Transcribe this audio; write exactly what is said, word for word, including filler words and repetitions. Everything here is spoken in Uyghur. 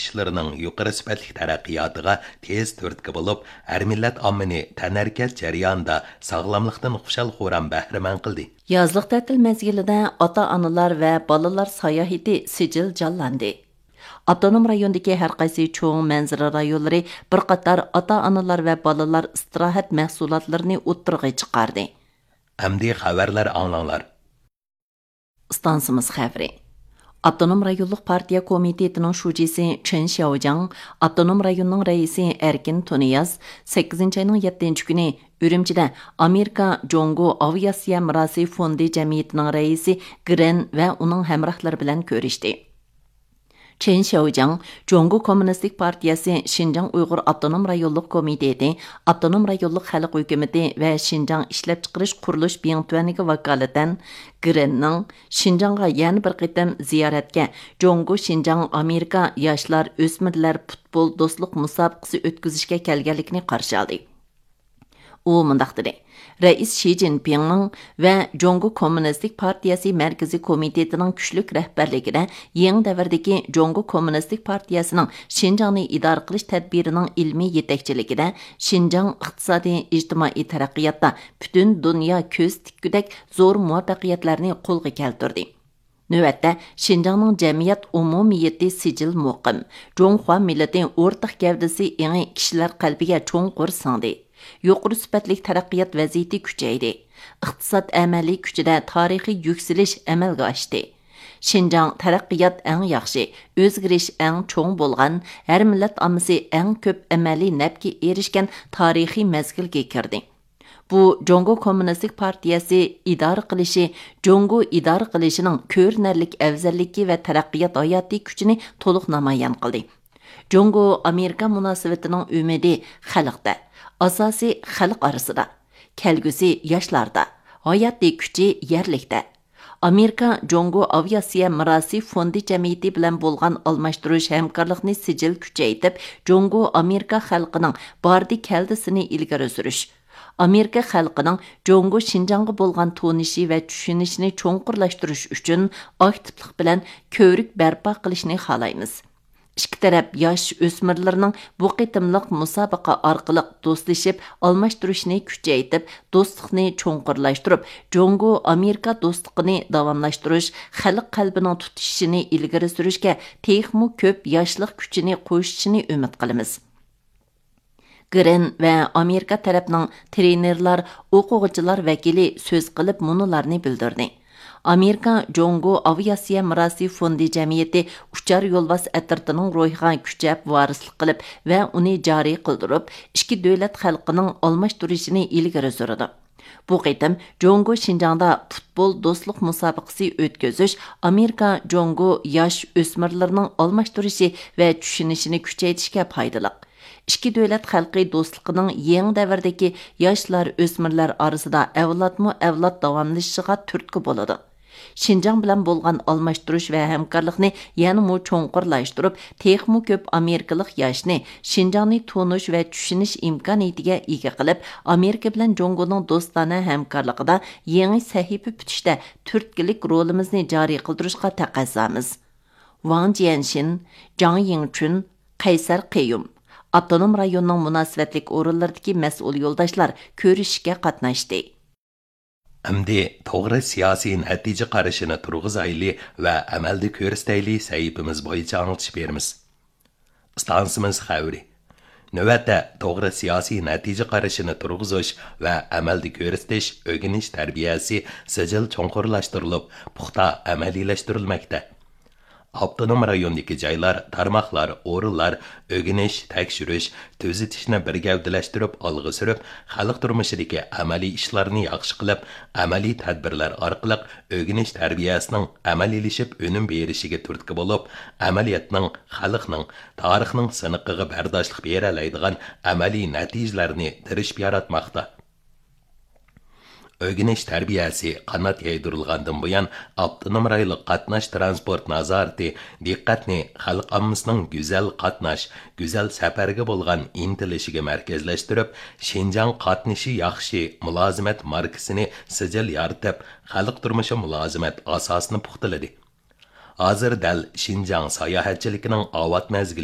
ئىشلىرىنىڭ يۇقىرى سۈپەتلىك تەرەققىياتىغا تېز تۈرتكە بولۇپ، ھەر مىللەت ئاممىنى تەنھەرىكەت جەريانىدا ساغلاملىقتىن خۇشال-خۇرام بەھرىمەن قىلدى. يازلىق تەتىل مەزگىلىدە ئاتا-ئانىلار ۋە بالىلار ساياھىتى سىجىل جانلاندى. ئاپتونوم رايوندىكى ھەر قايسى چوڭ مەنزىرە رايونلىرى بىر قاتار ئاتا-ئانىلار ۋە بالىلار ئىستىراھەت مەھسۇلاتلىرىنى ئوتتۇرىغا چىقاردى. ئەمدى خەۋەرلەر ئاڭلاڭلار. ئىستانسىمىز خەۋىرى. ئاپتونوم رايونلۇق پارتىيە كومىتېتىنىڭ شۇجىسى چېن شياۋجياڭ، ئاپتونوم رايوننىڭ رەئىسى ئەركىن تۇنىياز سەككىزىنچى ئاينىڭ يەتتىنچى كۈنى ئۈرۈمچىدە ئامېرىكا جۇڭگو ئاۋىئاتسىيە مىراسى فوندى جەمئىيىتىنىڭ رەئىسى گرېن ۋە ئۇنىڭ ھەمراھلىرى بىلەن كۆرۈشتى. چېن شياۋجياڭ جۇڭگو كوممۇنىستىك پارتىيەسى شىنجاڭ ئۇيغۇر ئاپتونوم رايونلۇق كومىتېتى، ئاپتونوم رايونلۇق خەلق ھۆكۈمىتى ۋە شىنجاڭ ئىشلەپچىقىرىش قۇرۇلۇش بىڭتۈەنىگە ۋاكالىتەن گرېننىڭ شىنجاڭغا يەنە بىر قېتىم زىيارەتكە جۇڭگو شىنجاڭ ئامېرىكا ياشلار ئۆسمۈرلەر پۇتبول دوستلۇق مۇسابىقىسى ئۆتكۈزۈشكە كەلگەنلىكىنى قارشى ئالدى. ئۇ مۇنداق دېدى، رەئىس شى جىنپىڭنىڭ ۋە جۇڭگو كوممۇنىستىك پارتىيەسى مەركىزىي كومىتېتىنىڭ كۈچلۈك رەھبەرلىكىدە يېڭى دەۋردىكى جۇڭگو كوممۇنىستىك پارتىيەسىنىڭ شىنجاڭنى ئىدارە قىلىش تەدبىرىنىڭ ئىلمىي يېتەكچىلىكىدە شىنجاڭ ئىقتىسادىي، ئىجتىمائىي تەرەققىياتتا پۈتۈن دۇنيا كۆز تىككۈدەك زور مۇۋەپپەقىيەتلەرنى قولغا كەلتۈردى. نۆۋەتتە، شىنجاڭنىڭ جەمئىيەت ئومۇمىيىتى سىجىل مۇقىم، جۇڭخۇا مىللىتى ئورتاق گەۋدىسى ئېڭى كىشىلەر قەلبىگە چوڭقۇر سىڭدى. يۇقىرى سۈپەتلىك تەرەققىيات ۋەزىيىتى كۈچەيدى. ئىقتىساد ئەمەلىي كۈچىدە تارىخىي يۈكسىلىش ئەمەلگە ئاشتى. شىنجاڭ تەرەققىيات ئەڭ ياخشى، ئۆزگىرىش ئەڭ چوڭ بولغان، ھەر مىللەت ئاممىسى ئەڭ كۆپ ئەمەلىي نەپكە ئېرىشكەن تارىخىي مەزگىلگە كىردى. بۇ جۇڭگو كوممۇنىستىك پارتىيەسى ئىدارە قىلىشى، جۇڭگو ئىدارە قىلىشىنىڭ كۆرۈنەرلىك ئەۋزەللىكى ۋە تەرەققىيات ھاياتىي كۈچىنى تولۇق نامايان قىلدى. جۇڭگو ئامېرىكا مۇناسىۋىتىنىڭ ئۈمىدى خەلقتە، ئاساسى خەلق ئارىسىدا، كەلگۈسى ياشلاردا، ھاياتىي كۈچى يەرلىكتە. ئامېرىكا جۇڭگو ئاۋىئاتسىيە مىراسى فوندى جەمئىيىتى بىلەن بولغان ئالماشتۇرۇش ھەمكارلىقنى سىجىل كۈچەيتىپ، جۇڭگو ئامېرىكا خەلقىنىڭ باردى كەلدىسىنى ئىلگىرى سۈرۈش، ئامېرىكا خەلقىنىڭ جۇڭگو شىنجاڭغا بولغان تونۇشى ۋە چۈشىنىشىنى چوڭقۇرلاشتۇرۇش ئۈچۈن ئاكتىپلىق بىلەن كۆۋرۈك بەرپا قىلىشنى خالايمىز. ئىككى تەرەپ ياش ئۆسمۈرلىرىنىڭ بۇ قېتىملىق مۇسابىقە ئارقىلىق دوستلىشىپ ئالماشتۇرۇشنى كۈچەيتىپ، دوستلۇقنى چوڭقۇرلاشتۇرۇپ، جۇڭگو ئامېرىكا دوستلۇقىنى داۋاملاشتۇرۇش، خەلق قەلبىنىڭ تۇتىشىشىنى ئىلگىرى سۈرۈشكە تېخىمۇ كۆپ ياشلىق كۈچىنى قوشۇشىنى ئۈمىد قىلىمىز. گرېن ۋە ئامېرىكا تەرەپنىڭ ترېنېرلار، ئوقۇغۇچىلار ۋەكىلى سۆز قىلىپ مۇنۇلارنى بىلدۈردى. ئامېرىكا جۇڭگو ئاۋىئاتسىيە مىراسى فوندى جەمئىيىتى ئۇچار يولۋاس ئەترىتىنىڭ روھىغا كۈچەپ ۋارىسلىق قىلىپ ۋە ئۇنى جارى قىلدۇرۇپ، ئىككى دۆلەت خەلقىنىڭ ئالماشتۇرۇشىنى ئىلگىرى سۈرىدۇ. بۇ قېتىم جۇڭگو شىنجاڭدا پۇتبول دوستلۇق مۇسابىقىسى ئۆتكۈزۈش ئامېرىكا جۇڭگو ياش ئۆسمۈرلىرىنىڭ ئالماشتۇرۇشى ۋە چۈشىنىشىنى كۈچەيتىشكە پايدىلىق. ئىككى دۆلەت خەلقى دوستلۇقىنىڭ يېڭى دەۋردىكى ياشلار، ئۆسمۈرلەر ئارىسىدا ئەۋلادمۇ ئەۋلاد داۋاملىشىشىغا تۈرتكە بولىدۇ. شىنجاڭ بىلەن بولغان ئالماشتۇرۇش ۋە ھەمكارلىقنى يەنىمۇ چوڭقۇرلاشتۇرۇپ، تېخىمۇ كۆپ ئامېرىكىلىق ياشنى شىنجاڭنى تونۇش ۋە چۈشىنىش ئىمكانىيىتىگە ئىگە قىلىپ، ئامېرىكا بىلەن جۇڭگونىڭ دوستانە ھەمكارلىقىدا يېڭى سەھىپە پۈتۈشتە تۈرتكىلىك رولىمىزنى جارى قىلدۇرۇشقا تەقەززامىز. ۋاڭ جيەنشىن، جاڭ يىڭچۈن، قەيسەر قېيۇم، ئاپتونوم رايوننىڭ مۇناسىۋەتلىك ئورۇنلىرىدىكى مەسئۇل يولداشلار كۆرۈشۈشكە قاتناشتى. ئەمدى توغرا سىياسىي نەتىجە قارىشىنى تۇرغۇزايلى ۋە ئەمەلدە كۆرسىتەيلى سەھىپىمىز بويىچە ئاڭلىتىش بېرىمىز. ئىستانسىمىز خەۋىرى. نۆۋەتتە توغرا سىياسىي نەتىجە قارىشىنى تۇرغۇزۇش ۋە ئەمەلدە كۆرسىتىش ئۆگىنىش تەربىيەسى سىجىل چوڭقۇرلاشتۇرۇلۇپ، پۇختا ئەمەلىيلەشتۈرۈلمەكتە. ئاپتونوم رايوندىكى جايلار، تارماقلار، ئورۇنلار ئۆگىنىش، تەكشۈرۈش، تۈزىتىشنى بىر گەۋدىلەشتۈرۈپ ئالغا سۈرۈپ، خەلق تۇرمۇشىدىكى ئەمەلىي ئىشلارنى ياخشى قىلىپ، ئەمەلىي تەدبىرلەر ئارقىلىق ئۆگىنىش تەربىيەسىنىڭ ئەمەلىيلىشىپ ئۈنۈم بېرىشىگە تۈرتكە بولۇپ، ئەمەلىيەتنىڭ، خەلقنىڭ، تارىخنىڭ سىنىقىغا بەرداشلىق بېرەلەيدىغان ئەمەلىي نەتىجىلەرنى تىرىشىپ ياراتماقتا. ئۆگىنىش تەربىيەسى قانات يايدۇرۇلغاندىن بۇيان، ئاپتونوم رايونلۇق قاتناش تىرانسپورت نازارىتى دىققەتنى خەلق ئاممىسىنىڭ گۈزەل قاتناش، گۈزەل سەپەرگە بولغان ئىنتىلىشىگە مەركەزلەشتۈرۈپ، شىنجاڭ قاتنىشى ياخشى مۇلازىمەت ماركىسىنى سىجىل يارىتىپ، خەلق تۇرمۇشى مۇلازىمەت ئاساسىنى پۇختىلىدى. ھازىر دەل شىنجاڭ ساياھەتچىلىكىنىڭ ئاۋات مەزگىلى.